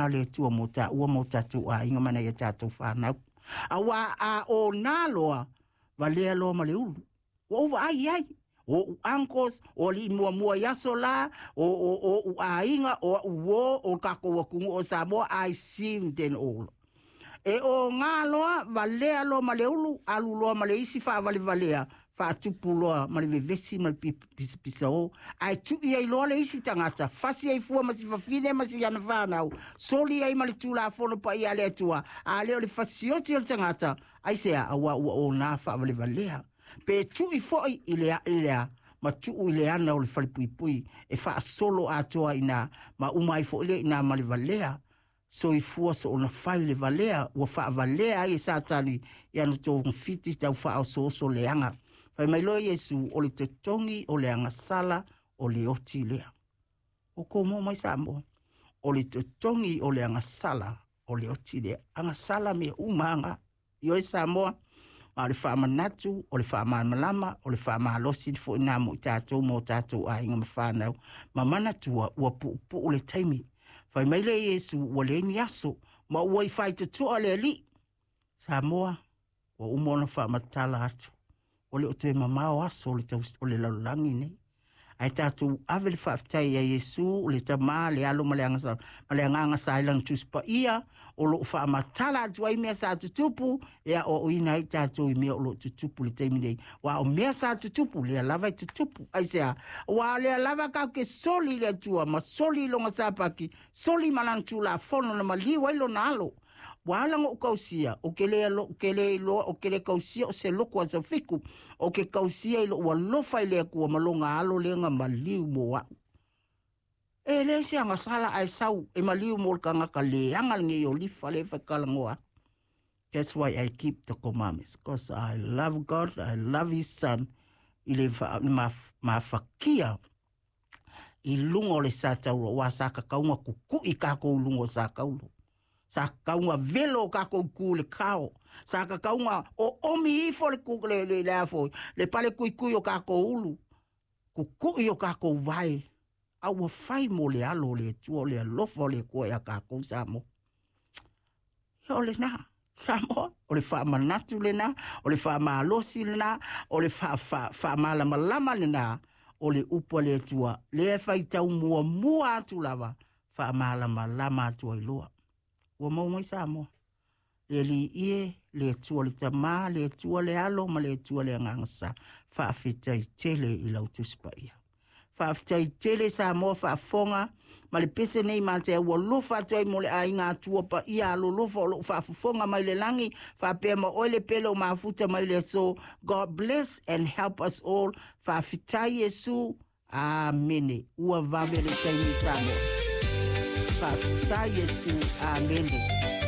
lena a le Atua mo taua ma o tatou aiga ma nai a tatou fanau. Auā a ona loa, valea loa ma le ulu. Ua ou vaai i ai, o ou uncles, o alii muamua i aso la, o ou aiga, o au uō, o le tatou atunuu o Samoa, I seen them all. E oga loa, valea loa ma le ulu, alu loa ma le isi faavalevalea, faatupu loa ma le vevesi ma le pisapisaō, ae tui ai loa le isi tagata, fasi ai fua ma si fafine ma si ana fanau, soli ai ma le Tulafono paia a le Atua, a lea o le fasioti o le tagata, aisea? Auā ua ona faavalevalea. Pe tui foi i le i le a, ma tuu i le ana o le falepuipui e faasolo atoa i ina, ma uma ai foi lea i ina ma le valea. Soifua soona fai le valea ua faavalea ai e Satani i ana togafiti tau faaosooso leaga. Fai mai loa Iesu, o le totogi o le agasala o le oti lea. Ua tou maua mai Samoa? O le totogi o le agasala o le oti lea. Agasala mea uma aga. Ioe Samoa, ma o le faamanatu, o le faamalamalama, o le faamalosi foi nā mo i tatou ma o tatou aiga ma fanau. Ma manatua ua puupuu le taimi. Fai mai lea Iesu, ua leai ni aso, ma ua i faitotoa le Alii. Samoa, ua uma ona faamatala atu, ua le o toe mamao aso o le, o le lalolagi nei. Ae tatou ave le faafetai ia Iesu, le Tama, le Alo ma le Agaga, ma le Agaga sa i lana Tusi Paia, o lo o faamatala atu ai mea sa tutupu, e aoaoina ai tatou i mea o lo o tutupu i le taimi nei. Aua o mea sa tutupu, lea lava e tutupu. Aisea? Aua o lea lava tatou te soli i le Atua ma soli i lona Sapati, soli ma lana Tulafono na maliu ai lona Alo. Ua ala ona ou tausia, ou te le, ou te le iloa, ou te le tausia o se loko a Saufiku, ou te tausia i lou alofa i le Atua ma lona alo lea na maliu mo au. E le se agasala ae sau e maliu mo le tagata leaga lenei o lifa le fai talanoa atu. That's why I keep the commandments, because I love God, I love His Son, i le mafakia i luga o le sa taulo, aua sa tatau ona kukui tatou i luga o sa taulo. Sa tatau ona velo o tatou ku le kao. Sa tatau ona oomi ifo le, ku, le, le, le, a foi, le pale kuikui o tatou ulu. Kukui o tatou vae. A ua fai mo le alo o le Atua, o le alofa o le Atua ia tatou Samoa. Ia o lena. Samoa, o le faamanatu lena, o le faamalosi lena, o le faamalamalama lena, o le upu a le Atua. Lea e faitau muamua atu lava, faamalamalama atu ai loa. Ua maua mai Samoa? Le Alii e, le Atua le Tama, le Atua le Alo ma le Atua le Agaga Sa. Faafetai tele i lau Tusi Paia. Faafetai tele Samoa faafofoga ma le pese nei matea ua alofa atu ai mo le aiga Atua paia alolofa o loo faafofoga mai le lagi faapea ma oe le pele o mafuta mai le aso. God bless and help us all. Faafetai Iesu. Amene. Ua vave le taimi Samoa. Faafetai Iesu. Amene.